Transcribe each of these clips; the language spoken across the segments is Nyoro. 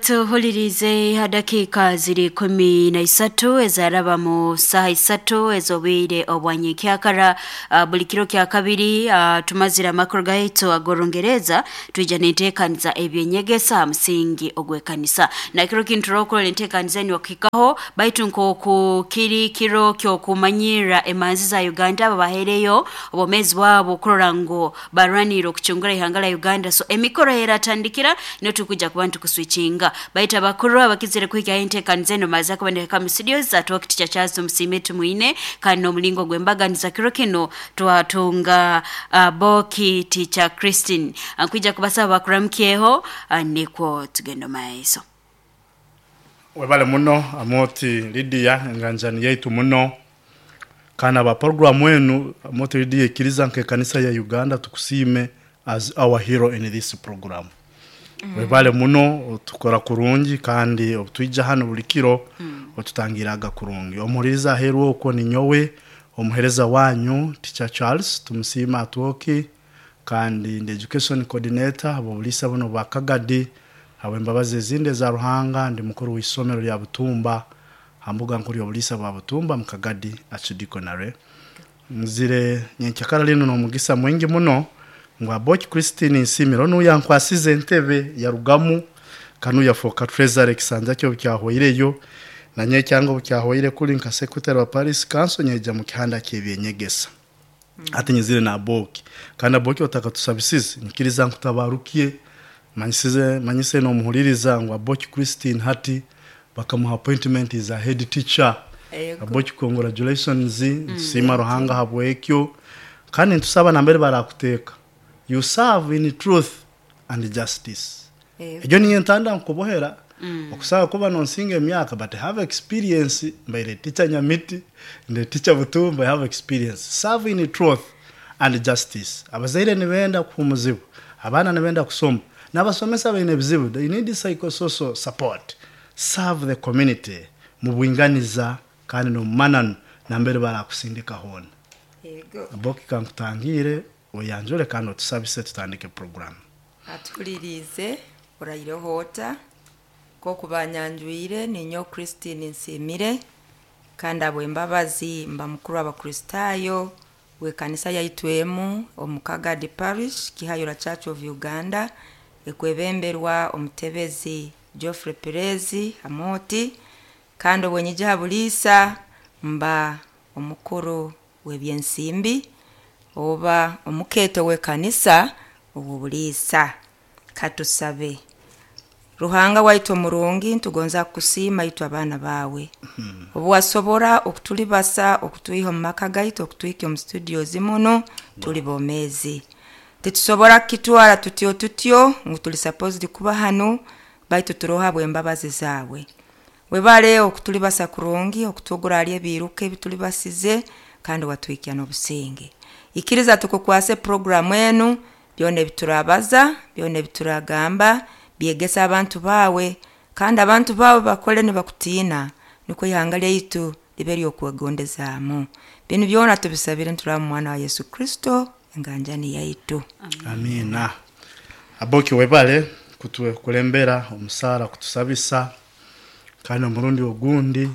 Atuhulirize dakiika ziri 13 ezaraba mu saaha 3 ez'obwire obwanyenkyakara. Buli kiro kya kabiri tumazire amakuru gaitu ag'Orungereza, twija n'enteekaniza ebyenyegesa ha musingi ogw'ekanisa. Na kiro kinu turookurora enteekaniza enu okuhikaho, baitu nk'oku kiri kiro ky'okumanyirra emanzi za Uganda abo bahaireyo obwomeezi bwabo kurora ngu barwaniire okucungura ihanga lya Uganda. So emikoro eratandikira niyo turukwija kuba nitukuswikinga, baitu abakuru abakizire kuhikyaho enteekaniza enu maze kuba nihika mu studios atuwa Teacher Charles Tumusiime Tumwine, kandi n'omulingo gw'embaganiza kiro kinu twatunga Boki Teacher Christine. Nkwija kubasaba bakuramukyeho nikwo tugenda omu maiso. Webale muno Amooti Lydia, enganjani yaitu muno. Kandi aba program enu Amooti Lydia ikiriza nk'ekanisa ya Uganda tukusiime as our hero in this program. Webale muno, otukora kurungi kandi obutwija hanu buli kiro otutangirraga kurungi. Omuhuliriza aheeru okwo ninyowe omuhereza wanyu Teacher Charles Tumusiime Atwoki, kandi ndi Education Coordinator habw'obuliisa bunu obwa Kagadi. Habw'embabazi ezindi eza Ruhanga ndi mukuru w'isomero lya Butumba ha mbuga nkuru y'obuliisa bwa Butumba mu Kagadi Archdeaconry. Nzire nyenkyakara linu n'omugisa mwingi muno ngu Aboki Christine Nsiimire onu yankwasize entebe yarugamu kanu yafooka Treasurer ekisanja kye obu kyahwaireyo, nanye ekyange obu kyahwaire kuli nka Secretary wa Parish Council nyaija mu kihanda ky'ebyenyegesa. Hati nyizire na Aboki, kandi Aboki otakatusabisize nyikiriza nkutabarukye manyisize manyise n'omuhuliriza ngu Aboki Christine hati bakamuha appointment as a head teacher. Ego. Aboki congratulations, nitusiima Ruhanga habw'ekyo, kandi nitusaba nambere barakuteeka you serve in truth and justice. Ego. Egyo niyo entanda nkubohera, okusobola kuba nonsinga emyaka but have experience, mbaire teacher Nyamiti, ndi teacher Butumba, I have experience. Serve in truth and justice. Abazaire nibenda kuhumuzibwa, abaana nibenda kusoma, n'abasomesa baine ebizibu, they need psychosocial support. Serve the community mu bwinganiza kandi n'omu mananu nambere barakusindika hoona. Ego. Aboki kankutangiire, oyanjule kandi otusabise tutandike program. Atuhuliriize oraireho ota? Nk'oku banyanjwire, ninyowe Christine Nsiimire, kandi habw'embabazi mba mukuru w'Abakristaayo w'ekanisa yaitu emu omu Kagadi Parish, Kihayura Church of Uganda, ekwebemberwa omutebezi Geoffrey Perezi Amooti, kandi obwenyija ha buliisa mba omukuru w'ebyensimbi oba omukeeto w'ekanisa ow'obuliisa. Katusabe. Ruhanga waitu omurungi, nitugonza kukusiima itwe abaana baawe, obu wasobora okutulibasa okutwiha omu maka gaitu okutwikya omu studios munu tuli bomeezi. Titusobora kukitwara tutyo tutyo ngu tuli supposed kuba hanu, baitu turoho habw'embabazi zaawe. Webale okutulibasa kurungi, okutugura hali ebiiruka ebi tulibasize, kandi watwikya n'obusinge. Ikiriza tukukwase puroguramu enu, byona ebi turabaza, byona ebi turagamba, byegese abantu baawe, kandi abantu baawe bakole nibakutiina, nukwo ihanga lyaitu libe ly'okwegondezaamu. Binu byona tubisabire nituraba mu mwana wa Yesu Kristo, enganjani yaitu. Amiina. Aboki webale kutukulembera omusaara kutusabisa, kandi omurundi ogundi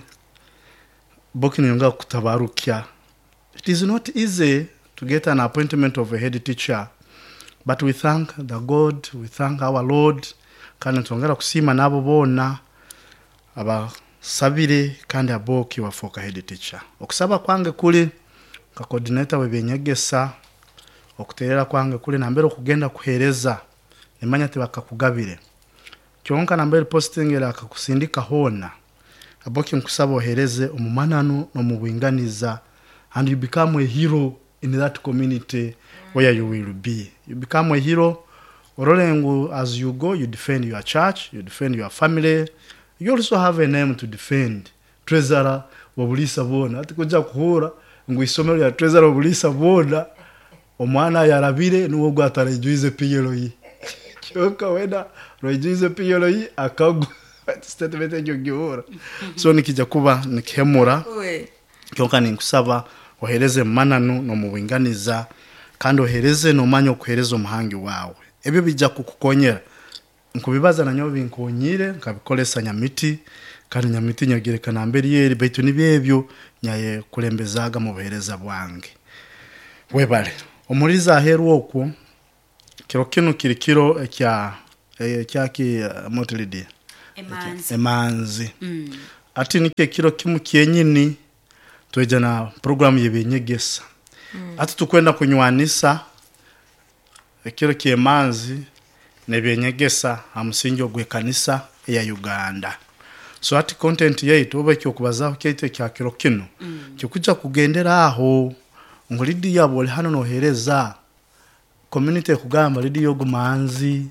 Boki ninyongera kukutabarukya. It is not easy to get an appointment of a head teacher, but we thank the God, we thank our Lord, kandi nitwongera kusiima n'abo boona abasabire kandi Aboki wafooka head teacher. Okusaba kwange kuri nka coordinator w'ebyenyegesa, okuteerera kwange kuri nambere okugenda kuheereza, nimanya tibakakugabire. Kyonka nambere posting erakakusindika hoona, Aboki nkusaba oheereze omu mananu n'omu bwinganiza and you become a hero in that community where you will be. You become a hero, orole ngu as you go you defend your church, you defend your family, you also have a name to defend, Treasurer w'obuliisa bwona. Hati kwija kuhuura ngu isomero lya Treasurer w'obuliisa bwona, omwana ayarabire nuwe ogu ataraijwize PLE. Kyonka wena rwaijwize PLE akagwa. Statement egyo ogihuura? So nikija kuba nikihemura, kyonka ninkusaba oheereze omu mananu n'omu bwinganiza, kandi oheereze noomanya okuheereza Omuhangi waawe. Ebyo biija kukukonyera. Nkubibaza nanyowe binkonyire nkabikolesa nyamiti, kandi nyamiti nyagireka nambere eri, baitu nibyo ebyo nyayekulembezaaga mu buheereza bwange. Webale omuliza aheeru okwo. Kiro kinu kiri kiro ekya ekyaki Motilidi? Emanzi. Emanzi. Ati nikyo ekiro kimu kyenyini twija na programu y'ebyenyegesa. Ati tukwenda kunywanisa ekiro ky'emanzi n'ebyenyegesa ha musingi ogw'ekanisa eya Uganda. So hati content yaitu oba eky'okubazaho kyaitu ekya kiro kinu kikujja kugendera aho ngu Lydia bw'oli hanu noheereza community ekugamba Lydia ogu manzi,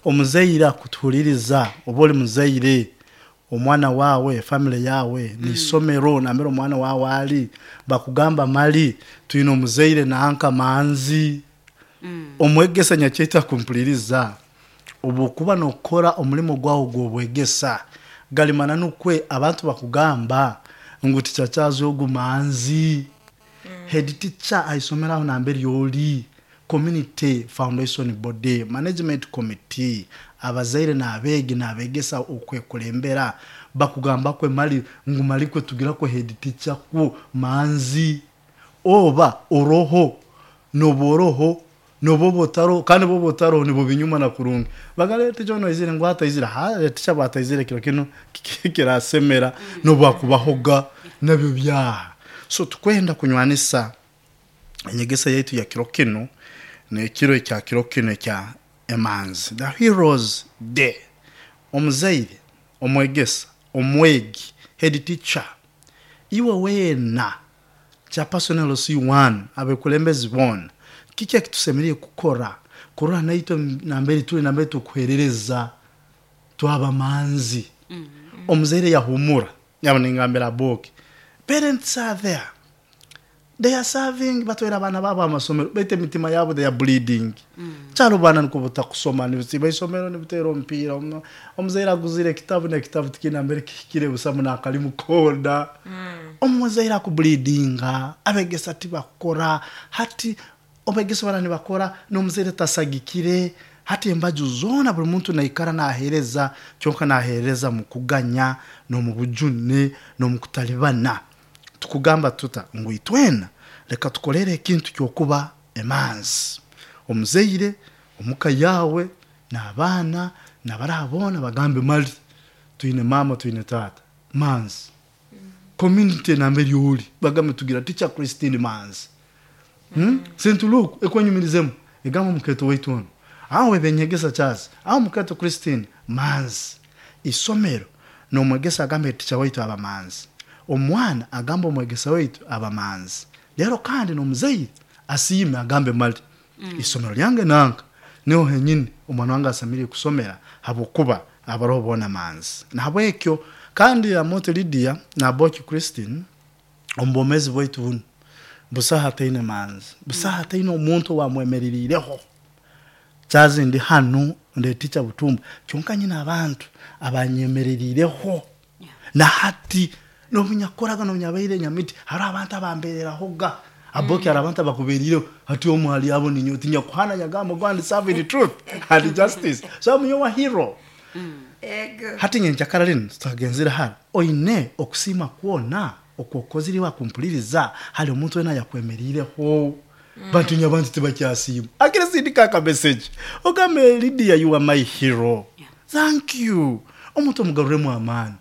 omuzaire akutuhuliriza oba oli muzaire, omwana waawe, family yaawe, n'isomero nambere omwana waawe ali, bakugamba mali twine omuzaire nanka manzi. Omwegesa nyakyaitu akumpuliriza, obwokuba nokora omulimo gwawe ogw'obwegesa, gali mananu kwe abantu bakugamba ngu tikyakyazi ogu manzi. Head teacher ha isomero aho nambere oli, community foundation body, management committee, abazaire n'abeegi n'abegesa okwekulembera bakugamba kwe mali ngu mali kwe tugira kwe head teacher kwo manzi. Oba oroho noba oroho noba oba otaroho, kandi oba otaroho nibo binyuma na kurungi. Bagamba teacher onu aizire ngu ataizire, ha teacher bwataizire kiro kinu kirasemera nobwakubahoga nabyo byaha. So tukwenda kunywanisa enyegesa yaitu ya kiro kinu n'ekiro ekya kiro kinu ekya emanzi, the heroes day. Omuzaire, omwegesa, omwegi, head teacher, iwe weena chairperson LC1, abekulembezi boona, kiki ekitusemeriire kukora kurora naitwe nambere tuli, nambere tukuheerereza twaba manzi? Omuzaire yahumura, yaba ningambira Aboki, parents are there, they are serving, batwaire abaana baabo amasomero, baitu emitima yabo they are bleeding. Kyaro baana nukwo butakusoma, nibisiiba isomero nibiteera omupiira, omuzaire aguzire ekitabu n'ekitabu tikiine nambere kihikire busamu n'akalimu koona. Omuzaire akubleedinga, abegesa tibakukora, hati abegesa bara nibakora n'omuzaire tasagikire, hati embaju zoona buli muntu naikara naheereza, kyonka naheereza mu kuganya n'omu bujune n'omu kutalibana. Tukugamba tuta ngu itwena leka tukolere ekintu ky'okuba emanzi. Omuzaire omuka yaawe n'abaana n'abaraha boona bagambe mali twine maama twine taata manzi. Community nambere ori bagambe tugira teacher Christine manzi. St. Luke ekwenyumirizemu egamba omukeeto waitu onu aho ebenyegesa Charles, aho omukeeto Christine manzi. Isomero n'omwegesa agambe teacher waitu aba manzi. Omwana agamba omwegesa waitu aba manzi. Rero kandi n'omuzaire asiime agambe mali isomero lyange nanka niho henyini omwana wange asemeriire kusomera habwokuba abaroho boona manzi. Nahabwekyo kandi Amooti Lydia na Aboki Christine, omu bwomeezi bwaitu bunu busaho ataine manzi, busaho ataine omuntu owamwemereriireho. Charles ndi hanu ndi teacher Butumba, kyonka nyine abantu abanyemereriireho na hati n'obu nyakukoraga n'obu nyabaire nyamiti, haroho abantu abambererahoga. Aboki hariho abantu abakuberiireho, hati omu hali abo ninyowe tinyakuhana nyagamba go and serve in truth and justice. So I'm your hero. Ego. Hati nyenkyakara linu tutagenzere hara, oine okusiima kwona okwokozire iwe akumpuliriza hali omuntu wena ayakwemeriireho. Bantu inywe abantu tibakyasiima. Akire sindika aka message ogambe Lydia you are my hero. Thank you. Omuntu omugaruremu amaani.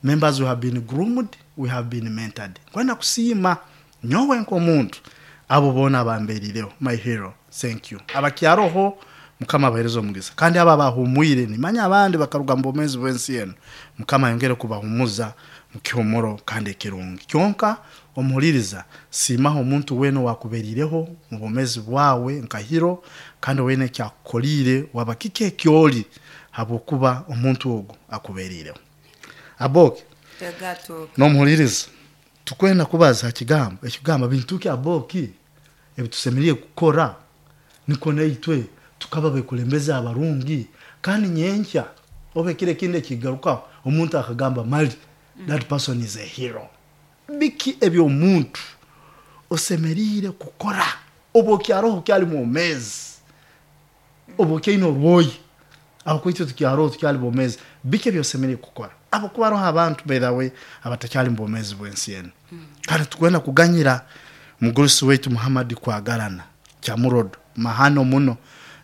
Members we have been groomed, we have been mentored. Nkwenda kusiima nyowe nk'omuntu abo boona abamberiireho, my hero. Thank you. Abakyaroho Mukama abahereze omugisa. Kandi abo abahumwire, nimanya abandi bakaruga mu bwomeezi bw'ensi enu, Mukama ayongere kubahumuza mu kihumuro kandi ekirungi. Kyonka omuhuliriza, siimaho omuntu weena owakuberiireho mu bwomeezi bwawe nka hero, kandi weena eki akukoliire waba kiki eki oli habwokuba omuntu ogu akuberiireho. Aboki, Tegatuuka. n'omuhuliriza, tukwenda kubaza ha kigambo ekikugamba bintu ki Aboki ebitusemeriire kukora nikwo naitwe tukaba bekulembezi abarungi, kandi nyenkya oba ekiro ekindi ekigarukaho omuntu akagamba mali that person is a hero. Biki eby'omuntu osemeriire kukora obu okyaroho okyali mwomeezi, obu okyaine orwoya? Aho kwitwe tukyaroho tukyali bomezi, biki ebyosemeriire kukora? Abo kuba haroho abantu, by the way, abatakyali mu bwomezi bw'ensi enu. Kandi tukwenda kuganyira mugurusi waitu Muhammad Kwagarana Kyamurodo mahano muno,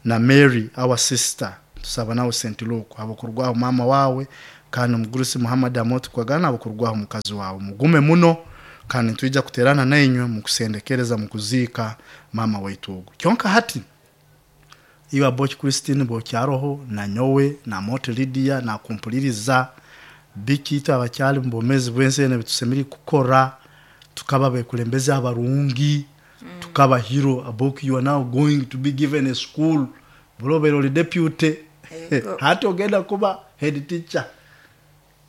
na Mary our sister, tusaba nawe St. Luke abokurugwaho mama wawe, kandi omugurusi Muhammad Amoti Kwagarana abokurugwaho mukazi wawe. Mugume muno, kandi nitwija kuterana nainywe mukusendekereza mukuziika mama waitu ogu. Kyonka hati iwe Aboki Christine bwokyaroho, na nyowe na Moti Lydia nakumpuliriza, biki itwe abakyali mu bwomezi bw'ensi enu ebitusemeriire kukora tukaba bekulembezi abarungi, tukaba hero. Aboki, you are now going to be given a school. Buli obeire oli deputy, hati ogenda kuba head teacher,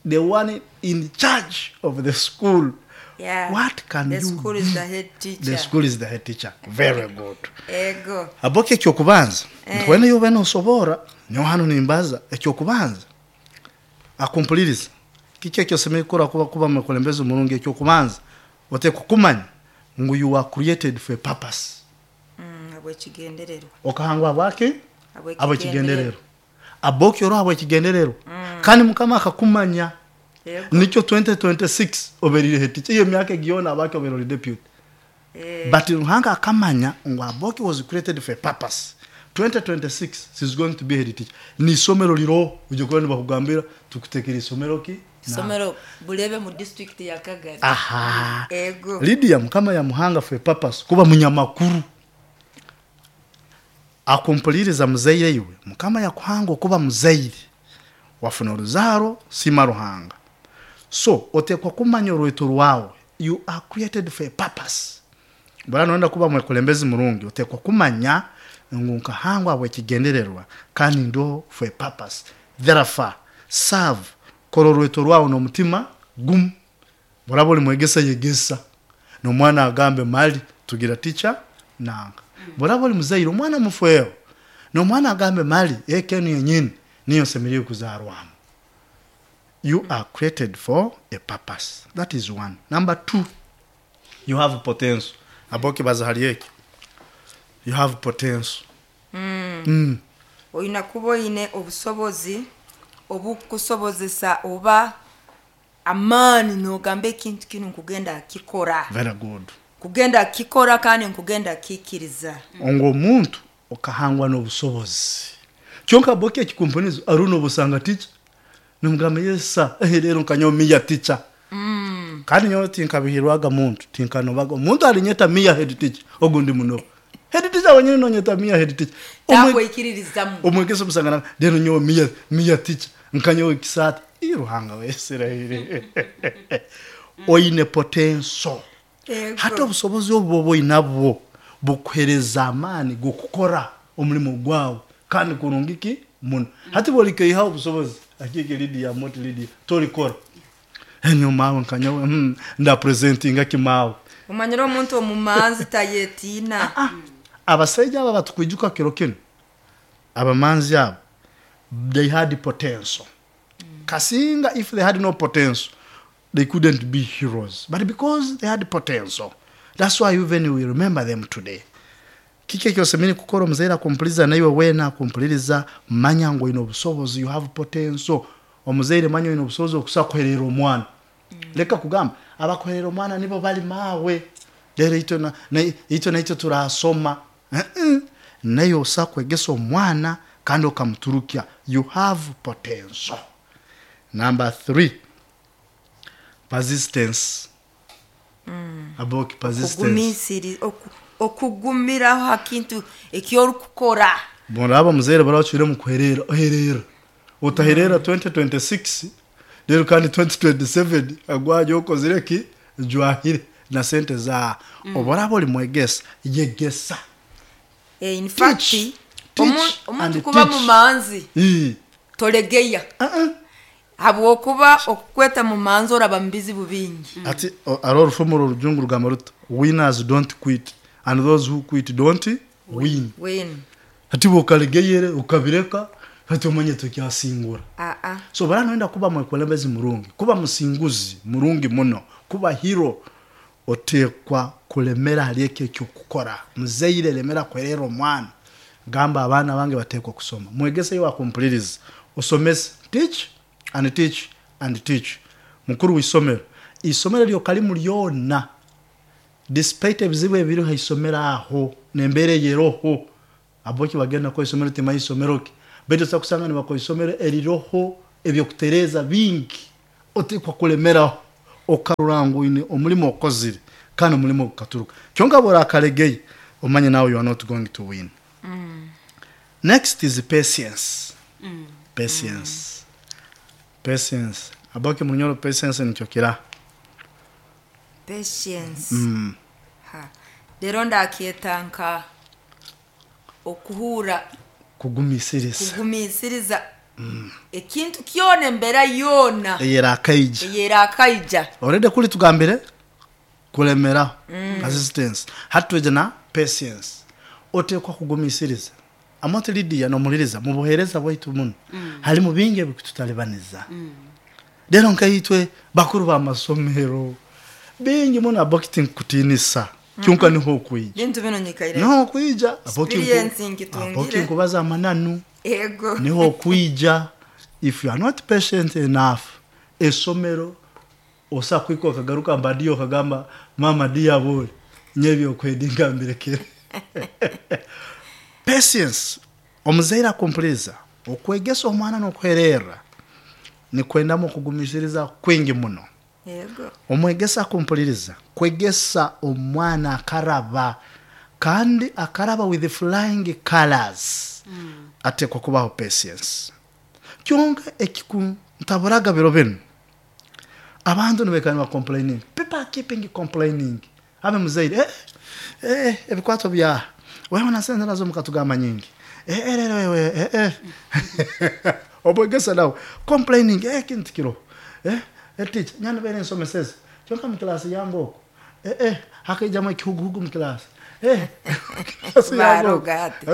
the one in charge of the school. Yeah. What can The you school do? is the head teacher. The school is the head teacher. Very good. Ego. Aboki, ekyokubanza nkwene yobe nosobora nyo hano nimbaza ekyokubanza akumpuliriza, kiki ekyosemeriire kukora kuba mukulembezi omurungi? Ekyokubanza oteekwa kumanya ngu you are created for a purpose. Habw'ekigendererwa. Okahangwa bwaki? Habw'ekigendererwa. Habw'ekigendererwa. Aboki, oroho habw'ekigendererwa, kandi Mukama akakumanya. Ego. Nikyo 2026 oberire head teacher. Iyo emyaka egiyona abaki oberire oli deputy. But Ruhanga akamanya ngu Aboki was created for a purpose. 2026 she's going to be head teacher. Ni isomero liroho uje kuba nibakugambira tukutekera isomero ki? Isomero Bulebe mu district ya Kagari. Aha. Ego. Lydia, Mukama yamuhanga for a purpose kuba munyamakuru. Akumpuliriza muzaire, iwe Mukama yakuhanga okuba muzaire, wafuna oruzaaro, sima Ruhanga. So otekwa kumanya orweto rwawe. You are created for a purpose. Bora noenda kuba mwekulembezi murungi, otekwa kumanya ngu nkahangwa habw'ekigendererwa kandi ndiho for a purpose. Therefore serve, kora orweto rwawe n'omutima gumu. Boraba oli mwegesa, yegesa nomwana agambe, "Mali tugira teacher nanga." Boraba oli muzaire, omwana mufweho nomwana agambe, "Mali eka enu yenyini niyo nsemeriire kuzarwamu." You are created for a purpose. That is one. Number two, you have potential. Aboki, baza hali eki, you have potential. Oyina kuba oyine obusobozi obukusobozesa oba amaani nogamba ekintu kinu nkugenda kikora. Very good. Kugenda kikora kandi nkugenda kikiriza. Ngo omuntu okahangwa n'obusobozi. Kyonka Aboki, ekikumponizo aruna obusanga teacher nomugamba, "Yes sir." Rero nkanyomiya teacher. Kandi nyowe tinkabihirwaga muntu, tinkanobaga omuntu alinyeta miya head teacher. Ogundi muno head teacher wenyini nonyeta miya head teacher. Takwekiririzamu. Omwegesa omusanga rero nyowe miya teacher, nkanyowe kisata i Ruhanga wa Isirairi. Oine potential. Ego. Hati obusobozi obwo bwoba oinabwo bukuhereza amaani g'okukora omulimo gwawe kandi kurungi ki muno. Hati bwolikeihaho obusobozi akike Lidia, Moti Lidia, tolikora enyo mawe nkanyowe ndapresentinga kimawe. Omanyire omuntu omumanzi tayetiina. Abasaija aba batukwijuka kiro kino, abamanzi abo, they had potential. Kasinga if they had no potential, they couldn't be heroes, but because they had potential, that's why even we remember them today. Kiki ekyosemeriire kukora omuzaire akumpuliriza naiwe weena akumpuliriza? Manya ngu oine obusobozi. You have potential. Omuzaire, manya oine obusobozi okusobola kuherera omwana. Leka kugamba abakuherera omwana nibo bali maawe, rero itwe naitwe turasoma. Naye osa kwegesa omwana kandi okamuturukya. You have potential. Number three, persistence. Aboki, persistence. Okugumiraho ha kintu ekyorukukora. Muraba muzaire barabacwire mu kuherera, oherera utaherera 2026, rero kandi 2027 agwaje okozire ki jwahire na sente za oboraba oli mwegesa, yegesa. In fact, Teach, omuntu and kuba teach. mumanzi, Ii. tolegeya, habwokuba okukweta mumanzi oraba mu bizibu bingi. Ati ari orufumu orujungu rugamba ruti, "Winners don't quit and those who quit don't win." Win. Ati bwokalegeyere ukabireka, ati omanye tokyasingura. Aa. So bara noenda kuba mwekulembezi murungi, kuba musinguzi murungi muno, kuba hero, otekwa kulemera hali ekyo ekyokukora. Muzaire, lemera kwerera omwana. Gamba abaana bange bateekwa kusoma. Mwegese iwe akumpuliriza. Osomese. Teach and teach and teach. Mukuru w'isomero. Isomero lyokalimu lyona, despite ebizibu ebiri ha isomero aho, n'embeera eyeroho, aboki bagenda ko isomero timanyi isomero ki, baitu osobola kusanga nibakora isomero eriroho ebyokutereeza bingi, otekwa kulemeraho okarora ngu oine omulimo okozire kandi omulimo gukaturuka. Kyonka bw'orakalegeye, omanye nawe you are not going to win. Next is patience. Patience. Patience. Aboki munyoro patience nikyo kira. Patience. Ha. Rero ndakyeta nka okuhura Kugumisiriza. Kugumisiriza ekintu kyona, embeera yoona eyerakaija. Eyerakaija. Already kuli tugambire kulemeraho, persistence. Hati twije na patience. Otekwa kugumisiriza. Amoti Lydia nomuliriza mu buheereza bwaitu muno halimu bingi ebikututalibaniza. Rero nkaitwe bakuru b'amasomero bingi muno aboki tinkukutiinisa kyonka niho okwija. Bintu bino nyikaire niho okwija aboki experience nkitungire. Aboki nkubaza amananu. Ego. Niho okwija. If you are not patient enough, esomero osa kwika okagaruka mbadiyo okagamba mama diaboli nyebyo okwedinga mbirekere. Patience, omuzaire akumpuliriza, okwegesa omwana n'okuhererra nikwendamu okugumisiriza kwingi muno. Ego. Omwegesa akumpuliriza, kwegesa omwana akaraba kandi akaraba with flying colors, atekwa kubaho patience. Kyonka ekikuntaburaga biro binu, abantu nibaikara niba complaining. People are keeping complaining. Abe muzaire, ebikwato bya wewe na sente nazo mukatugamba nyingi. Rero wewe, Omwegesa nawe complaining, kintu kiroho. Teacher, nyana bere nsomeseze. Kyonka mu class yange oko. Hakaijamu ekihuguhugu mu class. Class yange oko. Baroga ati.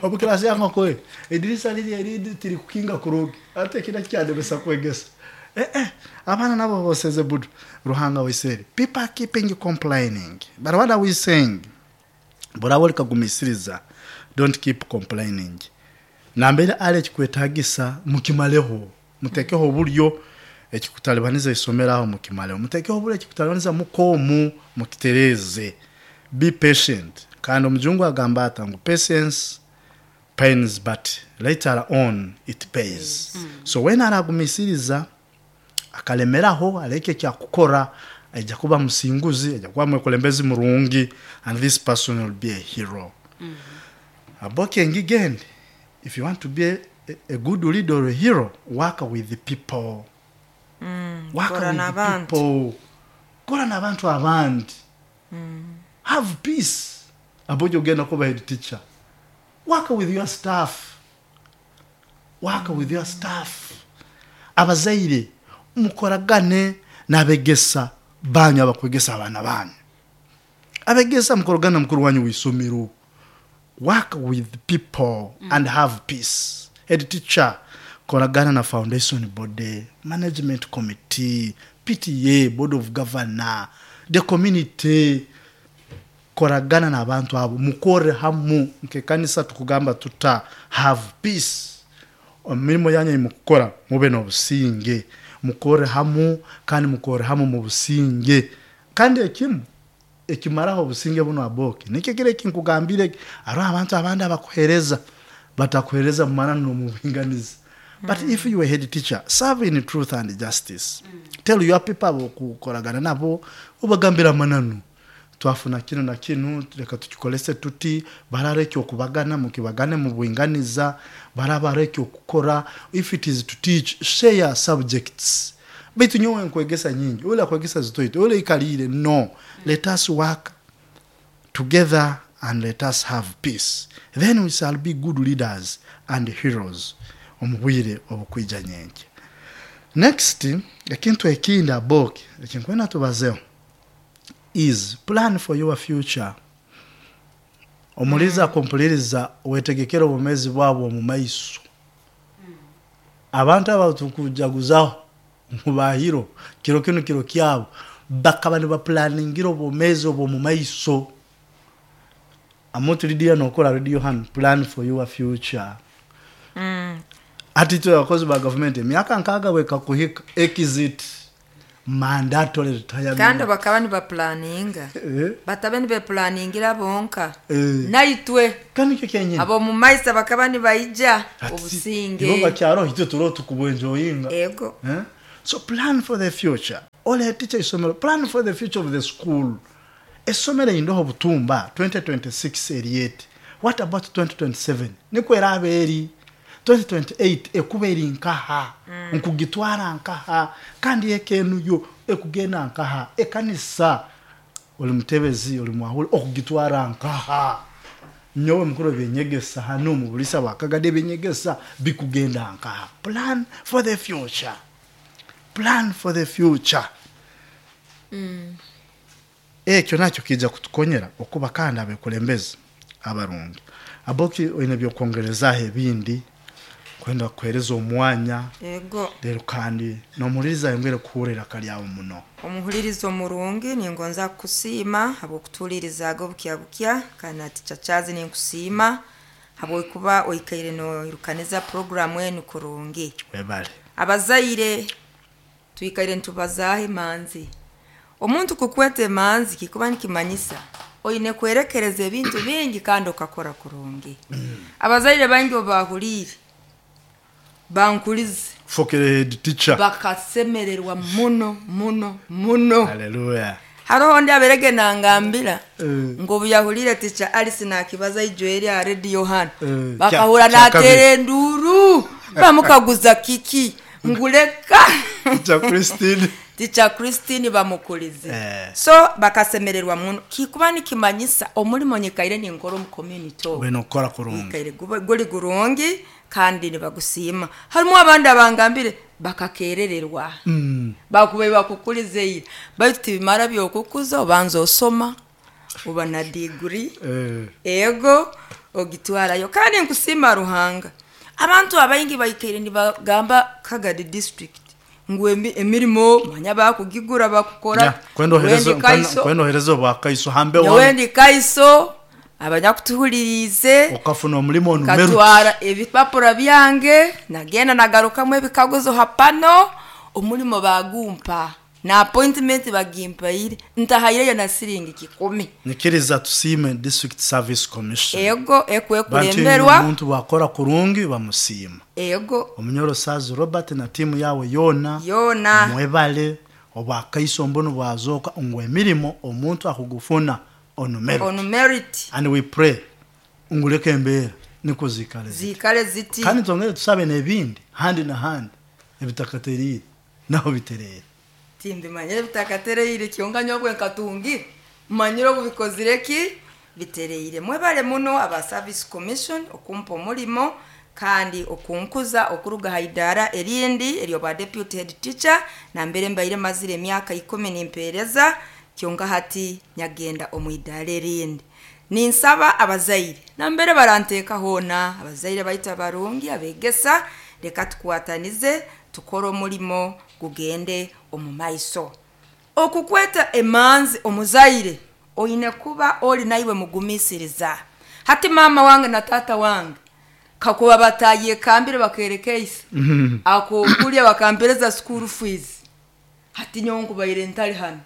Omu class yange oko, edirisa liri erindi tiri kukinga kurungi. Ate ekina kyandemesa kwegesa. Abaana nabo boseze budu. Ruhanga w'Israeli. People are keeping complaining. But what are we saying? Burabo likagumisiriza. Don't keep complaining. Nambere ale ekikwetagisa mukimaleho. Mutekeho oburyo ekikutalibaniza isomero aho mukimaleho. Mutekeho oburyo ekikutalibaniza mukomu mukitereze. Be patient. Kandi omujungu agamba ata ngu patience pains but later on it pays. So when aragumisiriza akalemeraho aleke kyakukora, aija kuba musinguzi, aija kuba mwekulembezi murungi, and this person will be a hero. Aboke ngigende, if you want to be a good leader or a hero, work with the people. Work Kora with the n'abantu. people. Kora n'abantu abandi. Have peace. Aboje ogenda kuba head teacher. Work with your staff. Work with your staff. Abazaire mukoragane n'abegesa banyu abakwegesa abaana banyu. Abegesa mukoragane na mukuru wanyu w'isomero. Work with people and have peace. Head teacher, koragana na foundation body, management committee, PTA, board of governor, the community. Koragana n'abantu abo, mukore hamu nkekanisa tukugamba tuta have peace. Emirimo yanyu mukukora mube n'obusinge, mukore hamu kandi mukore hamu mu businge. Kandi ekimu ekimaraho obusinge buno aboke nikyo kire kinkugambire, hariho abantu abandi abakuhereza batakuhereza mu mananu n'omu buringaniza. But if you are head teacher, serve in truth and justice. Tell your people abokukoragana nabo, ubagambira amananu, twafuna kino na kino, reka tukikolese tuti, barara ekyokubagana mukibagane mu buringaniza, barabara ekyokukora. If it is to teach, share subjects. Baitu nyowe nkwegesa nyingi, ule akwegesa zitoito, ule ikalire. No, let us work together and let us have peace, then we shall be good leaders and heroes omu bwire obukwija nyenke. Next, ekintu ekindi aboke ekinkwenda tubazeho is plan for your future. Omuliza akumpuliriza, wetegekere obumezi bwabo omu maiso. Abantu aba tukujaguzaho mubahiro kiro kino kiro kyabo, bakaba nibapulaningira obwomezi obw'omu maiso. Amooti Lydia nokora radio hanu, plan for your future. Hati itwe abakozi ba gavumenti emyaka 60 bwekakuhika, exit, mandatory retirement. Kandi bakaba nibapulaninga. Batabe nibepulaningira bonka. Naitwe Kandi nikyo kyenyini. Ab'omu maiso bakaba nibaija Ati, obusinge. Ibo bakyaro itwe turiho tukubwenjoyinga. Ego. So plan for the future. Ole teacher isomero, plan for the future of the school. Esomero indoho butumba 2026 eriete. What about 2027? Niko erabe eri 2028 ekuba eri nkaha, nkugitwara nkaha, kandi ekenu yo ekugenda nkaha, ekanisa oli mutebezi oli mwahule okugitwara nkaha. Nyowe mukuru byenyegesa hano mu bulisa bwakagade byenyegesa bikugenda nkaha. Plan for the future. Plan for the future. Ekyo nakyo kijja kutukonyera okuba kandi abekulembezi abarungi. Aboki oine byokwongerezaho ebindi kwenda kuhereza omwanya. Ego. Rero kandi nomuhuliriza yongere kuhurira kalyawo muno. Omuhulirizo murungi, ningonza kukusiima habw'okutuulirizaga obukya bukya, kandi ati chachazi ninkusiima habw'okuba oikaire noirukaniza programu enu kurungi. Webale. Abazaire twikaire nitubazaaho emanzi. Omuntu kukweta emanzi kikuba nikimanyisa oine kwerekereza ebintu bingi kandi okakora kurungi. Abazaire bangi obahuliire bankulize. Fokere head teacher. Bakasemererwa muno muno muno. Hallelujah. Haroho ndi aberege nangambira ngo obu yahulire teacher Alice nakibaza ijo eri aha radio hano, bakahura natera enduru, bamukaguza kiki nguleka. Teacher Christine. Teacher Christine bamukulize. So bakasemererwa muno, kikuba nikimanyisa omulimo nyikaire ninkora omu community ogu. Wena okukora kurungi. Nyikaire guri gurungi kandi nibagusiima. Harimu abandi abangambire bakakerererwa. Bakubaire bakukulize ira, baitu tibimara byokukuza, obanza osoma oba na degree. Ego ogitwarayo. Kandi nkusiima Ruhanga, abantu abaingi baikaire nibagamba Kagadi district ngu emirimo manya bakugigura bakukora. Yeah, kwenda Wendi Kaiso. Kwenda ohereza obwa Kaiso hambe Nyowe wanu. ndi Kaiso, abanyakutuhulirize. Okafuna omulimo onumeru. Katwara ebipapura byange, nagenda nagarukamu ebikaguzo hapano, omulimo bagumpa na appointment bagimpaire, ntahaireyo na siringi 10. Nikiriza tusiime District Service Commission. Ego, Bantu ekwekulemberwa. omuntu bwakora kurungi bamusiima. Ego. Omunyoro Sazi Robert na timu yawe yona. Yona. Mwebale obwa Kaiso mbono bwazoka ngwe emirimo omuntu akugufuna on merit. On merit. And we pray nguleke embera niko zikale ziti. Zikale ziti. Kandi tongere tusabe n'ebindi handi na handi ebitakaterire naho biterere. Timbimanyire ebitakatereire kyonka nyobwe nkatungire manyire obubikozire ki bitereire. Mwebale muno aba Service Commission okumpa omulimo kandi okunkuza okuruga haidara erindi eryo ba deputy head teacher, na mbere mbaire mazire emyaka 10 nimpereza kyonka hati nyagenda omu idara erindi. Ninsaba abazaire na mbere baranteeka hoona, abazaire baita barungi abegesa, reka tukwatanize tukore omulimo gugende omu maiso. Okukweta emanzi omuzaire oine kuba ori naiwe mugumisiriza. Hati mama wange na tata wange kakuba batayekambire bakerekeisa akokulya bakampereza school fees, hati nyowe nkubaire ntari hano.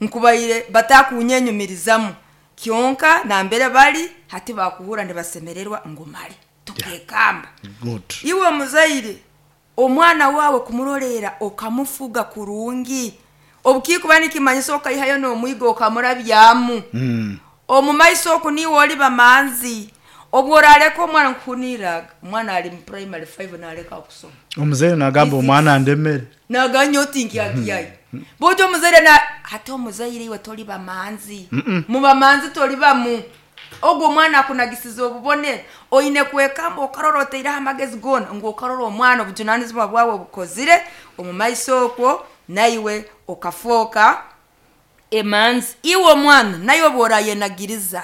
Nkubaire batakunyenyumirizamu kyonka nambere bari hati bakuhura nibasemererwa ngu mare tukekamba. Good. Iwe omuzaire omwana wawe kumurorera okamufuga kurungi, obukikuba nikimanyisa okaihayo n'omwigo okamurabyamu. Omu maiso oku niwe oli bamanzi, obwo orareka omwana nkuhuniraga omwana ari mu primary 5 nareka kusoma. Omuzaire nagamba omwana ndemere. Naganya oti nkyakyayi. Bojo omuzaire na hati omuzaire iwe tori bamanzi. Mu bamanzi tori bamu. Ogwo omwana akunagisiza obubone oine kwekamba okarora oteire amagezi gona ngu okarora omwana obujunanizibwa bwawe bukozire omu maiso okwo naiwe okafoka emanzi. Iwe omwana naiwe bworayenagiriza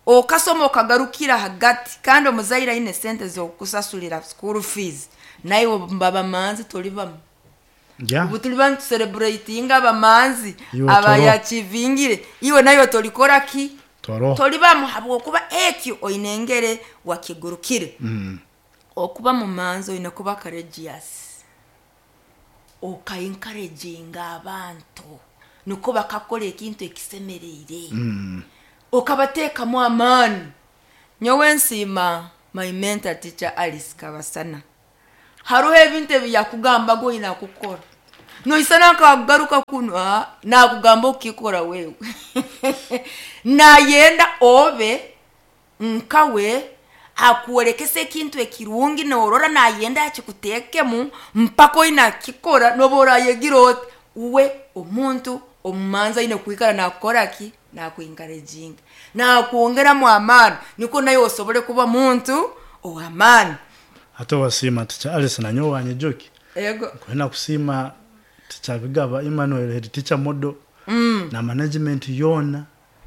okasoma okagarukira hagati kandi omuzaire aine sente zokusasulira school fees naiwe mbaba manzi tori bamu. Ubu turi bantu celebratinga abamanzi Iwe toro. abayachivingire iwe nayo tolikora ki? Toroho. Tolibamu habwokuba ekyo oine engere wakigurukire. Okuba mumanzi oine kuba courageous, okaencouraginga abantu niko bakakora ekintu ekisemereire, okabateekamu amaani. Nyowe nsiima my mentor teacher Alice Kabasana, haruho ebintu ebi yakugambaga oine kukora, noisana nkagaruka kunu, nakugamba okukikora wewe nayenda obe nkawe, akuolekesa ekintu ekirungi norora nayenda akikuteekemu mpaka oine akikora noba orayegira oti uwe omuntu omumanzi aine kwikara nakukora ki, nakuencouraginga, nakwongeramu amaani, niko nawe osobole kuba muntu ow'amaani. Ate wasiima teacher Alice, nanyowe wanyijuki. Ego. Kwenda kusiima teacher Bigaba Emmanuel, head teacher model, na management yona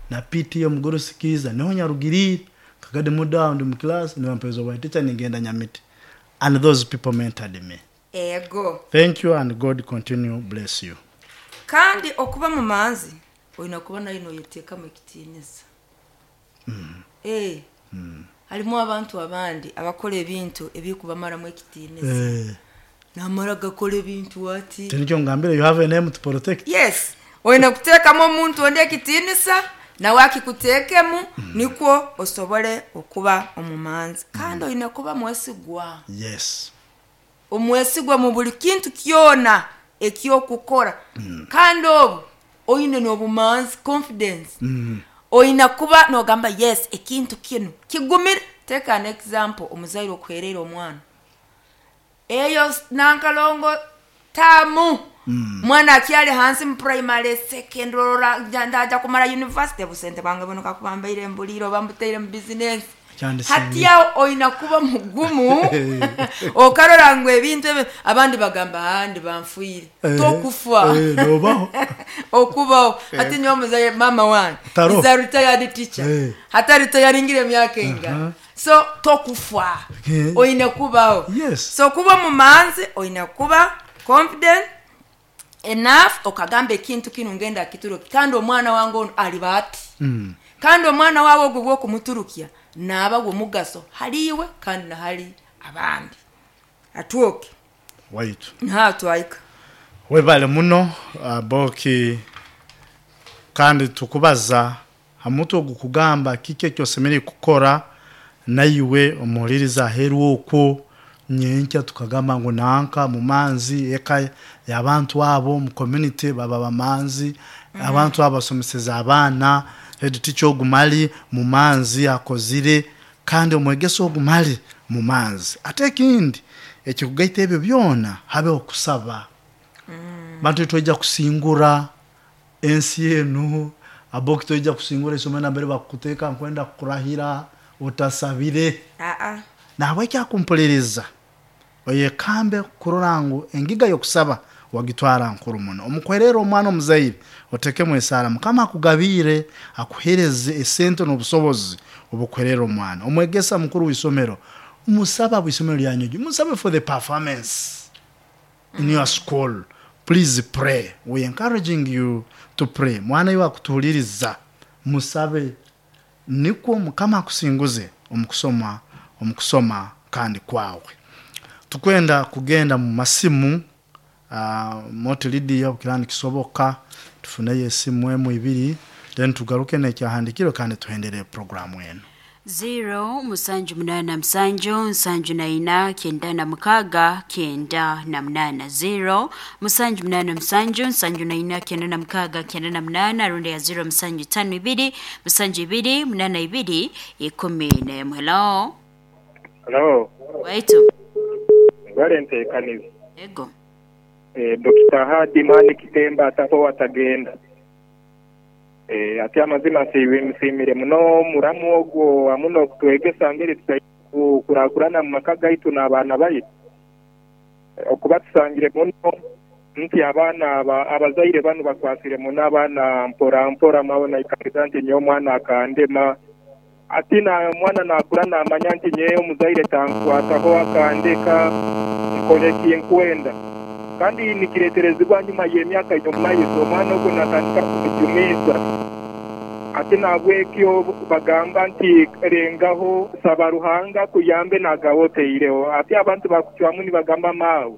na PTA mugurusikiza niho nyarugirire kagade mudawo ndi mu class nibampeza obwa teacher ningenda Nyamiti, and those people mentored me. Ego. Thank you and God continue bless you. Kandi okuba mumanzi oine kuba nayo noyeteekamu ekitiinisa. Harimu abantu abandi abakora ebintu ebikubamaramu ekitiinisa. Namara gakora ebintu ati. Tinikyo ngambire, you have a name to protect. Yes, oine kuteekamu omuntu ondi ekitiinisa nawe akikuteekemu, nikwo osobole okuba omumanzi. Kandi oine kuba mwesigwa. Yes. Omwesigwa mu buli kintu kyona ekyokukora. Kandi obu oine n'obumanzi, confidence. Oine kuba nogamba yes, ekintu kinu kigumire. Take an example, omuzaire okuhereera omwana eyo nankalongo tamu, mwana akyali hansi mu primary, secondary, orora ndaja kumara university, busente bwange buno kakuba mbaire mbulire oba mbuteire mu business. Kyandisiimye. Hati aho oine kuba mugumu, okarora ngu ebintu ebyo abandi bagamba ahandi banfuire. Tokufa. Nobaho. Okubaho. Hati nyowe muzaire mama wange Taro. is a retired teacher. Hata retiringire emyaka engana. So tokufa. Oine kubaho. Yes. So kuba mumanzi oine kuba confident enough, okagamba ekintu kinu ngenda kituruki, kandi omwana wange ono aliba ati. Kandi omwana wawe ogwo bwokumuturukya naaba gwomugaso haliiwe kandi nahali abandi. Atwoke. Waitu. Nha twaika. Webale muno, Boki, kandi tukubaza hamutwe ogukugamba kiki ekyosemerire kukora naiwe omuhuliriza aheeru okwo nyenkya tukagamba ngu nanka mumanzi eka y'abantu abo mu community baba bamanzi, abantu abo basomeseza abaana, head teacher ogumali mumanzi akozire, kandi omwegesa ogumali mumanzi. Ate ekindi ekikugaita ebyo byona habeho okusaba. Bantu titwaija kusingura ensi enu, aboki twaija kusingura isomero nambere bakuteeka nkwenda kukurahira otasabire. Nahabweki akumpuliriza oyekambe kurora ngu engiga y'okusaba wagitwara nkuru muno. Omukwerera omwana omuzaire otekemu esaara, Mukama akugabiire akuhereze esente n'obusobozi obukuherera omwana. Omwegesa mukuru w'isomero musaba bw'isomero lyanyu, musabe for the performance in your school. Please pray. We encouraging you to pray. Mwana iwe akutuhuliriza musabe nikwo Mukama akusinguze omukusoma kandi kwawe. Tukwenda kugenda mu masimu, Moti Lydia okirani kisoboka tufuneyo esimu emu ibiri, then tugaruke n'ekyahandikirwe kandi tuhendere programu eno. 0 musanju munana musanju nsanju na ina kyenda na mukaga kyenda na munana. 0 musanju munana musanju nsanju na ina kyenda na mukaga kyenda na munana, rundi ya 0 musanju tano ibiri musanju ibiri munana ibiri ikumi n'emwe. Hello. Hello. Waitu. Ngwale nteekaniza. Ego. Dr. Hadi Mani Kitemba ataho atagenda. Ati amazima nsiimire muno muramu ogwo amuno okutwegesa ngeri kurakurana mu maka gaitu n'abaana baitu. Okuba tusangire muno nti abaana abazaire banu bakwasire muno abaana mpora mpora mabona ikariza nti nyowe omwana akandema. Ati na mwana nakura namanya nti nyewe omuzaire tankwataho akandeka nkore kinkwenda. Kandi nikireterezibwa nyuma y'emyaka y'omumaiso omwana ogwo natandika kumujumiza. Ate nabwekyo bagamba nti rengaho saba Ruhanga kuyambe nagawe oteireho. Ate abantu bakucwamu nibagamba maawe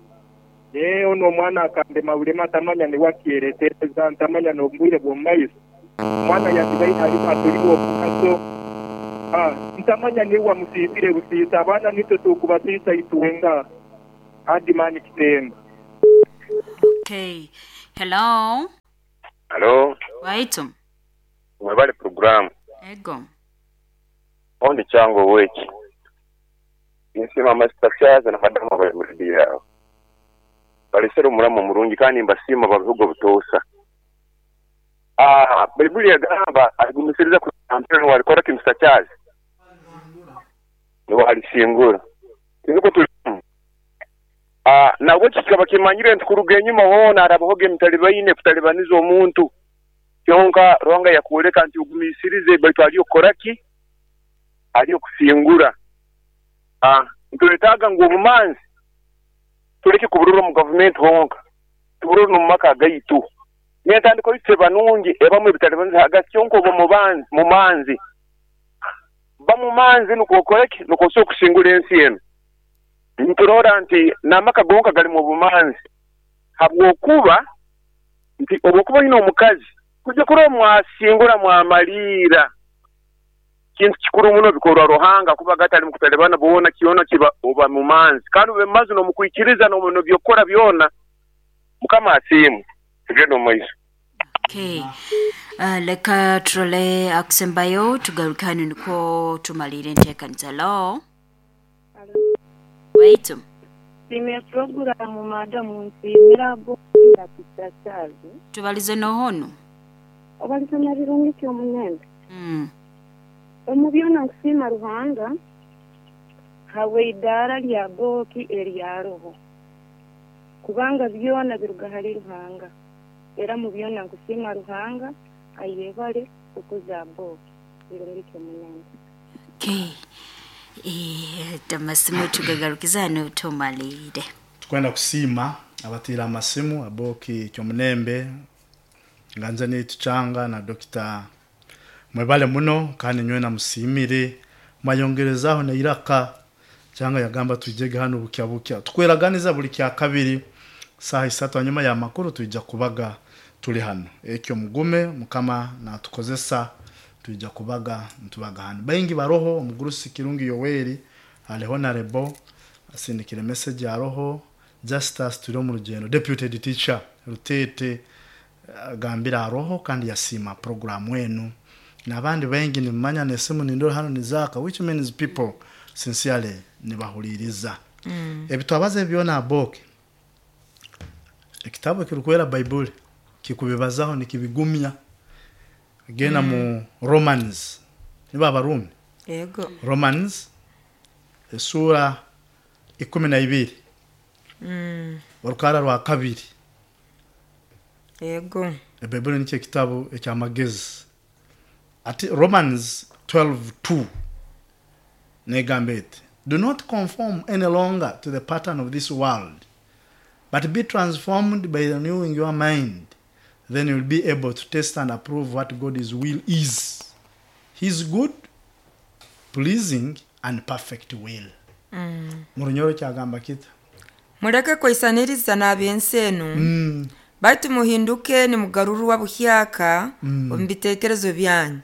ono omwana akandema bulema ntamanya niwe akyeretereza ntamanya n'obwire bw'omumaiso. Omwana yandibaire atuli w'omugaso. Ntamanya niwe wamusiisire busiisa. Abaana nitwe tukubasiisa itwenga. Adimani Kitemba. Okay. Hello. Hello. Waitu. Mwebale programu. Ego. Ondi chango weki. Nsiima amasita na madamu abali mu rediyo yawe. Balesere omulamu omurungi kandi mbasiima babihuga butoosa. Baibuli yagamba aligumisiriza ku walikora kimsa chazi. Niwe alisingura. Tiniko tulimu. Nabwo kikaba kimanyire nti kuruga enyuma hoona arabahoga emitalibaine kutalibaniza omuntu. Kyonka Ruhanga yakuoleka nti ugumisirize baitu aliyo koraki aliyo kusingura. Ntuletaga ngu obumanzi tuleke kuburura mu government honka tuburura mu maka gaitu. Nentandiko yitse banungi ebamu ebitalibaniza hagati kyonka obo mumanzi bamumanzi nuko koreki nuko so kusingura ensi eno. Nturora nti namaka gonka gali mu bumanzi habwokuba nti obwokuba ino omukazi kujja kuro mwasingura mwamalira kintu kikuru muno bikorwa Ruhanga kuba gatali mukutalibana boona kiona kiba oba mumanzi kandi ube mazi no mukwikiriza no no byokora byona mukama asimu tugende mu maiso. Okay. Leka turole akusembayo tugarukane niko tumalire ntekanisa lo. Wait. Sime programu madamu nsimira bo na kitachazi. Tubalize nohono. Obalize na birungi kyo munende. Omubyona nkusima Ruhanga hawe idara lya boki eryaroho. Kubanga byona biruga hali Ruhanga. Era mu byona nkusima Ruhanga ayebale okuza boki birungi kyo munende. Okay. Tamasimu tugagarukizano tumalire. Tukwenda kusima abatira amasimu aboki kyomunembe nganza ni tuchanga na Dr. Mwebale muno kandi nywe na musimire mayongerezaho na iraka cyangwa yagamba tujege hano bukya bukya tukweraganiza buli kya kabiri saha isatu hanyuma ya makuru tujja kubaga tuli hano ekyo mugume mukama na tukozesa tujja kubaga ntubaga hano baingi baroho omugurusi Kirungi Yoweri aliho na rebo asindikire message ya roho Justus turi mu rugendo deputy teacher Rutete agambira roho kandi yasima program wenu nabandi bengi nimanya nesimu nindora hano nizaka which means people sincerely nibahuliriza. Ebitwabaze byona aboke ekitabo kirukwera Bible kikubibazaho nikibigumya gena mu Romans niba abarumi yego Romans sura 12 orukara rwa kabiri yego Bible ni kitabo ekyamagezi ati Romans 12:2 negambete do not conform any longer to the pattern of this world but be transformed by renewing your mind. Then you'll be able to test and approve what God's will is, his good, pleasing and perfect will. Murunyoro kyagamba kita muleke kwaisaniriza n'ab'ensi enu. Baitu muhinduke nimugarurwa buhyaka omu bitekerezo byanyu.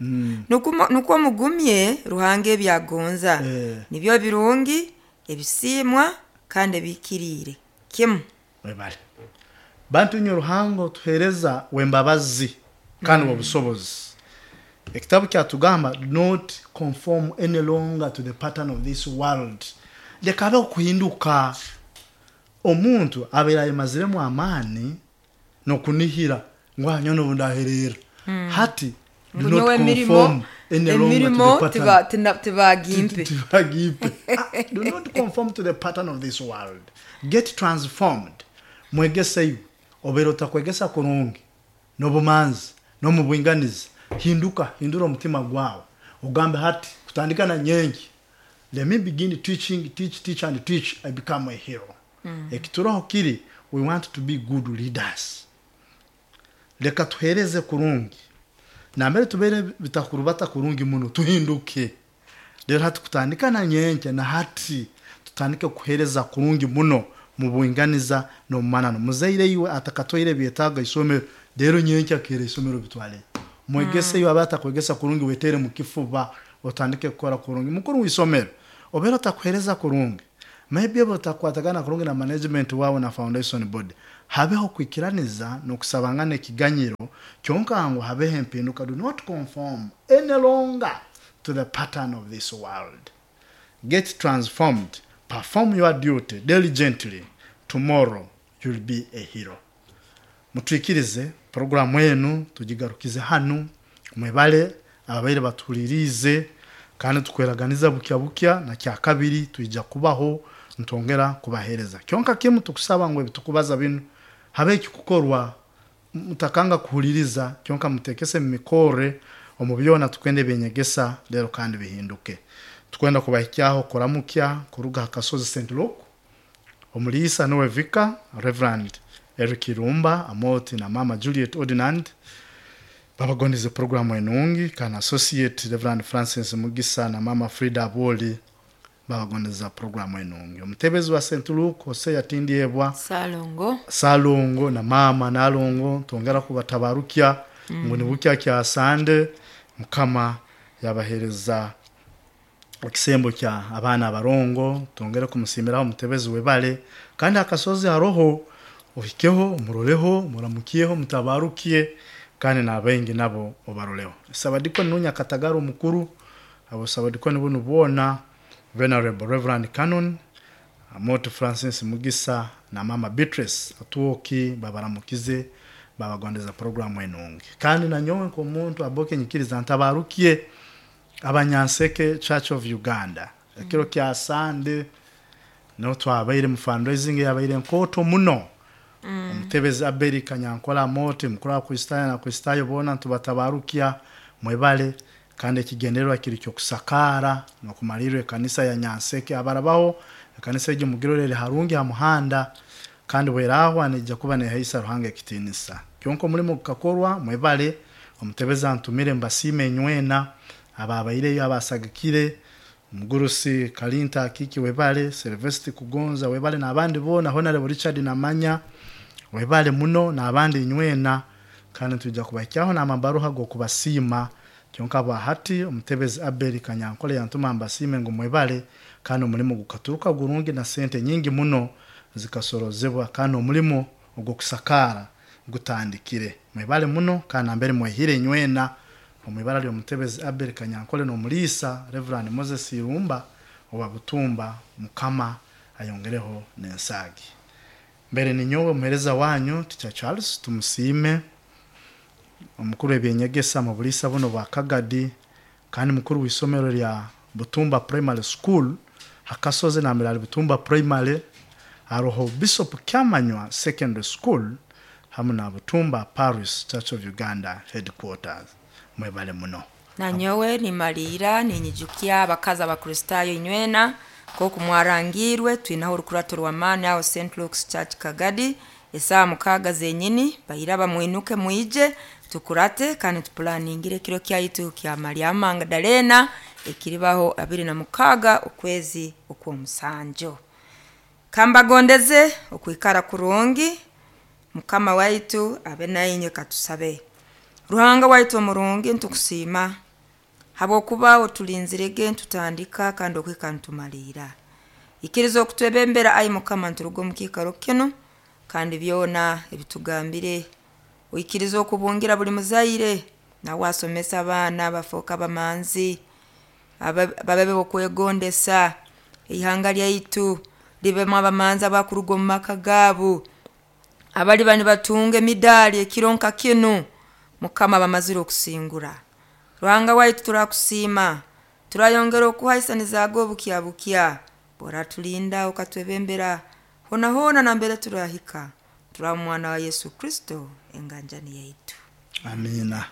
Nukwo mugumye Ruhanga ebyagonza. Nibyo birungi ebisimwa kandi ebikirire kimu. Webale bantu nyo Ruhanga tuhereza wembabazi kandi obusobozi. Ekitabu kyatugamba not conform any longer to the pattern of this world. Leka okuhinduka omuntu abeera yemaziremu amaani nokunihira ngwa nyono bundaherera. Hati do not conform any longer to the pattern. Tibagimpe. Do not conform to the pattern of this world. Get transformed. Mwegeseyo obero takwegesa kurungi nobumanzi no mubwinganizi. Hinduka hindura omutima gwawe ugambe hati kutandika na nyengi. Let me begin teaching, teach, teach and teach. I become a hero. Ekituroho kiri we want to be good leaders. Leka tuhereze kurungi. Nambere tubeere bitakurubata kurungi muno tuhinduke. Rero hati kutandika na nyenkya na hati tutandike kuhereza kurungi muno mu bwinganiza n'omumanano. Muzaire iwe atakatwaire ebyetaago isomero, rero nyenkya kera isomero bitwale. Mwegese iwe aba atakwegesa kurungi wetere mu kifuba otandike kukora kurungi. Mukuru w'isomero obeera otakuhereza kurungi, maybe oba otakwatagana kurungi na management wawe na foundation board, habeho kwikiraniza n'okusabangana ekiganyiro kyonka ngu habeho empinduka. Do not conform any longer to the pattern of this world. Get transformed, perform your duty diligently, tomorrow you'll be a hero. Mutwikirize programu enu tugigarukize hanu. Mwebale ababaire batulirize, kandi tukweraganiza bukya bukya na kya kabiri twija kubaho ntongera kubahereza. Kyonka kimu tukusaba ngu ebitukubaza binu habe ekikukorwa, mutakanga kuhuliriza, kyonka mutekese mu mikore omu byona tukwenda ebyenyegesa lero kandi bihinduke. Tukwenda kubahikyaho kuramukya kuruga ha kasozi St. Luke, omuliisa nowe Vika Reverend Eric Irumba Amoti na Mama Juliet Ordinand babagondeze programu enungi, kana Associate Reverend Francis Mugisa na Mama Frida Aboli babagondeza programu enungi. Omutebezi wa St. Luke Hosea Tindyebwa Salongo Salongo na mama Nalongo twongera kubatabarukya ngu nibukya kya Sande Mukama yabahereza ekisembo kya abaana abarongo. Twongere kumusimiraho omutebezi webale, kandi akasozi haroho ohikeho muroleho muramukiyeho mutabarukiye, kandi n'abaingi nabo obaroleho. Sabadikoni nunya Katagara omukuru, abo sabadikoni bunu boona Venerable Reverend Canon Amoto Francis Mugisa na Mama Beatrice Atuoki babaramukize babagondeza programu enungi. Kandi nanyowe nk'omuntu aboke nyikiriza ntabarukiye abanyanseke Church of Uganda ekiro kya Sande no twabaire mu fundraising yabaire nkoto muno. Omutebezi Abeli Kanyankole Amote mukuru wa Kristayo na Kristayo boona ntubatabarukia mwebale, kandi ekigendererwa kiri kyokusakara n'okumalirra ekanisa ya Nyanseke. Abarabaho ekanisa egyo mugirorere harungi ha muhanda, kandi bwerahwa nijja kuba nehaisa Ruhanga ekitinisa. Kyonka omulimo gukakorwa mwebale. Omutebezi antumire mbasiime enywena ababaireyo abasagikire, Mugurusi Kalinta Akiki webale, Silvestri Kugonza webale, n'abandi boona, Honorable Richard Namanya webale muno n'abandi inywena, kandi twija kubahikyaho n'amabaruha g'okubasiima. Kyonka bwahati omutebezi Abeli Kanyankole yantuma mbasiime ngu mwebale, kandi omulimo gukaturuka gurungi na sente nyingi muno zikasorozebwa, kandi omulimo ogw'okusakaara gutandikire. Mwebale muno kandi nambere mwehire inywena omu ibara ly'omutebezi Abel Kanyankole n'omuliisa Reverend Moses Irumba owa Butumba. Mukama ayongereho n'ensaagi. Mbere ninyowe omuhereza wanyu Teacher Charles Tumusiime, omukuru w'ebyenyegesa mu buliisa buno bwa Kagadi, kandi mukuru w'isomero lya Butumba Primary School hakasozi nambere ali Butumba Primary, haroho Bishop Kyamanywa Secondary School hamu na Butumba Parish Church of Uganda headquarters. Mwebale muno. Nanyowe nimalira ninyijukya abakazi abakristaayo inywena nk'oku mwarangirwe twinaho orukurato rw'amaani aho St. Luke's Church Kagadi esaaha 6 zenyini baira bamwinuke mwije tukurate kandi tupulaningire ekiro kyaitu kya Mariamu Magdalena ekiribaho 26 okwezi okw'omusanjo. Kambagondeze okwikara kurungi, Mukama waitu abe nainywe. Katusabe. Ruhanga waitu omurungi, ntukusiima habwokuba otulinzirege ntutandika kandi okwika ntumaliira. Ikiriza okutwebembera ai Mukama, nturuga omu kiikaro kinu kandi byona ebitugambire oikiriza okubungira buli muzaire nawe asomesa abaana bafooka abamanzi babe bokwegondesa eihanga lyaitu libemu abamanzi abakuruga omu maka gaabo abaliba nibatunga emidaali ekiro nka kinu Mukama bamazire okusingura. Ruhanga waitu turakusiima, turayongera okuhaisanizaaga obukya bukya boratulinda okatwebembera hona hona nambere turahika turaba omwana wa Yesu Kristo enganjani yaitu. Amina.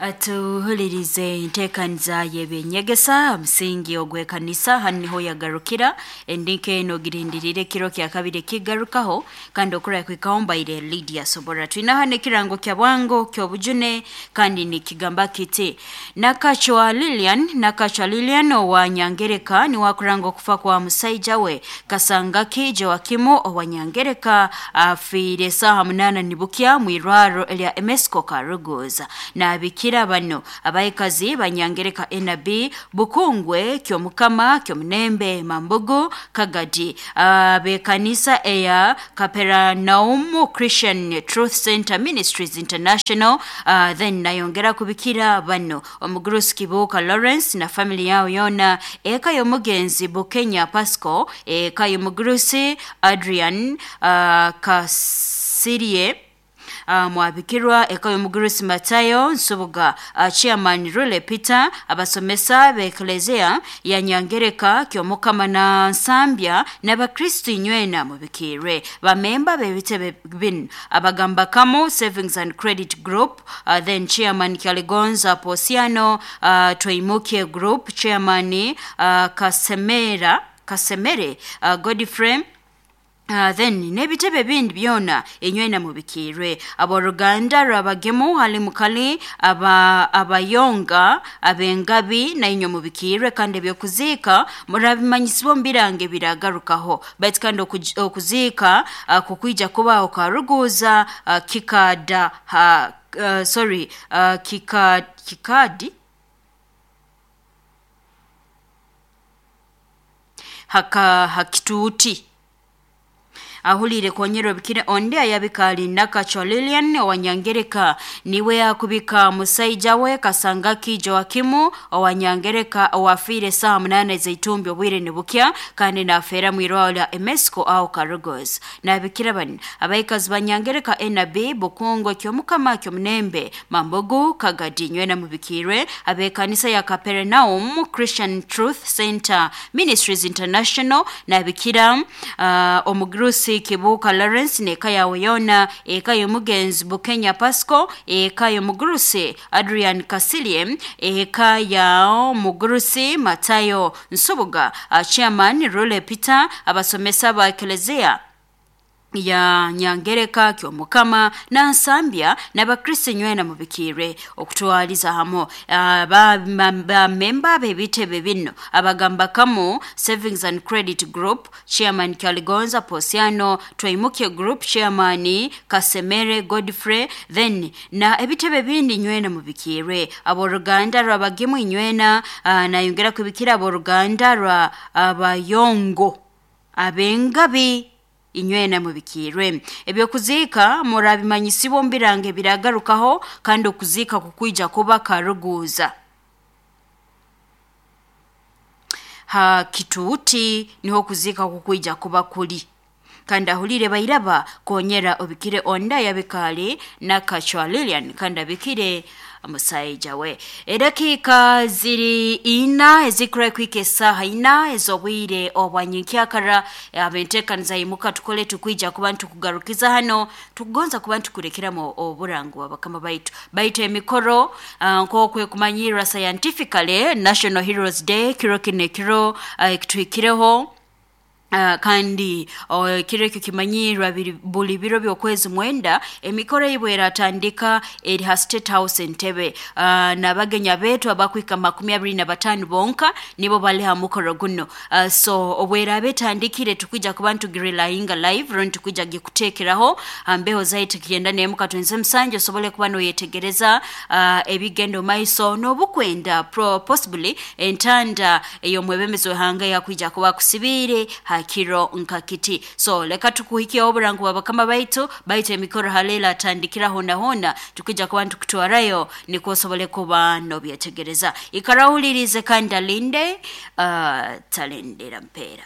Atuhulirize enteekaniza y'ebyenyegesa musingi ogw'ekanisa hanu niho yagarukira endinka eno girindirire kiro kya kabiri kigarukaho kandi okura kwikaho mbaire Lydia Sobora. Twina hano ekirango kya bwango ky'obujune kandi nikigamba kiti Nakachwa Lilian, Nakachwa Lilian owa Nyangereka niwe akuranga okufa kwa musaija we Kasangaki Joakimu owa Nyangereka afiire saaha 8 nibukya mwirwaro erya Emesco Karuguza. Nabikira bano abaikazi banyangereka NB Bukungwe Kyomukama Kyomunembe Mambugu Kagadi, abekanisa eya Capernaum Christian Truth Center Ministries International. Then nayongera kubikira bano omugurusi Kibuuka Lawrence na family yao yona, eka y'omugenzi Bukenya Pasco, eka y'omugurusi Adrian Kasirye, mwabikirwa eka y'omugurusi Matayo Nsubuga, chairman Rule Peter, abasomesa b'eklezia ya Nyangereka Kyomukama na Nsambya n'abakristu inywena mubikirwe bamemba b'ebitebe binu abagamba Kamu Savings and Credit Group, then chairman Kyaligonza Posiano, Twimuke Group chairman, Kasemera Kasemere, Godfrey. Then n'ebitebe bindi byona enywena mubikirwe abooluganda rwabagemu hali mukali aba abayonga abengabi nainywe mubikirwe kandi ebyokuziika murabimanyisibwa omu birango ebiragarukaho baitu kandi okuziika kukwija kubaho karuguza kikada ha, sorry, kikadi haka hakituuti ahulire konyera bikire onde ayabikali Nakachwa Lilian owanyangereka niwe akubika musaija we Kasangaki Joakimu owanyangereka owafiire saa 8 zaitumbi obwire nibukya kandi nafeera mwirwaro lya Emesco aho Karugos. Nabikira bano abaikazi banyangereka NB Bukungo Kyomukama Kyomunembe Mambogo Kagadi nywena mubikirwe abekanisa ya Capernaum Christian Truth Center Ministries International nabikira omugurusi Kibuuka Lawrence n'eka yawe yona, eka y'omugenzi Bukenya Pasco, eka y'omugurusi Adrian Kasilie, eka ya omugurusi Matayo Nsubuga, chairman Rule Peter, abasomesa ba eklezia ya Nyangereka Kyomukama na Nsambya n'abakristo nywena mubikire okutwaliza hamo bamemba b'ebitebe bino abagamba Kamu Savings and Credit Group chairman Kyaligonza Posiano, Twaimuke Group chairman Kasemere Godfrey, then na ebitebe bindi nywena mubikire abooluganda rwabagemu inywena, nayongera kubikira abooluganda rwa abayongo abengabi inywena mubikirwe ebyokuziika murabimanyisibwa omu birango ebiragarukaho kandi okuziika kukwija kuba karuguza ha kituuti niho okuziika kukwija kuba kuli kandi ahulire bairaba konyera obikire onda yabikali Nakachwa Lilian kandi abikire musaija we. Edakiika ziri ina ezikura kwika esaaha 4 ez'obwire obwanyenkyakara abenteekaniza imuka tukole tukwija kuba ntukugarukiza hano tukugonza kuba ntukurekeramu oburango bwa bakama baitu baitu emikoro nk'okwekumanyirra scientifically National Heroes Day kiro kino ekiro ekituhikireho. Kandi ekiro ekyo kimanyirwa buli biro by'okwezi 9 emikoro eibwe eratandika eri ha State House Entebbe. N'abagenya beetu abakwika 25 bonka nibo bali ha mukoro guno. So obweraaba etandikire tukwija kuba ntugirilayinga live rundi tukwija gikuteekeraho mbeho zaitu kigenda nemuka twenze musanju osobole kuba noyetegereza ebigenda omaiso n'obukwenda possibly entanda ey'omwebembezi w'ihanga yakwija kuba kusibiire hakiro nkakiti. So leka tukuhikia oburango bwa bakama baitu baitu emikoro halela atandikira hona hona tukija kuba ntukutwarayo nikwo osobole kuba nobyetegereza. Ikarawulirize kandi alinde talindira mpeera.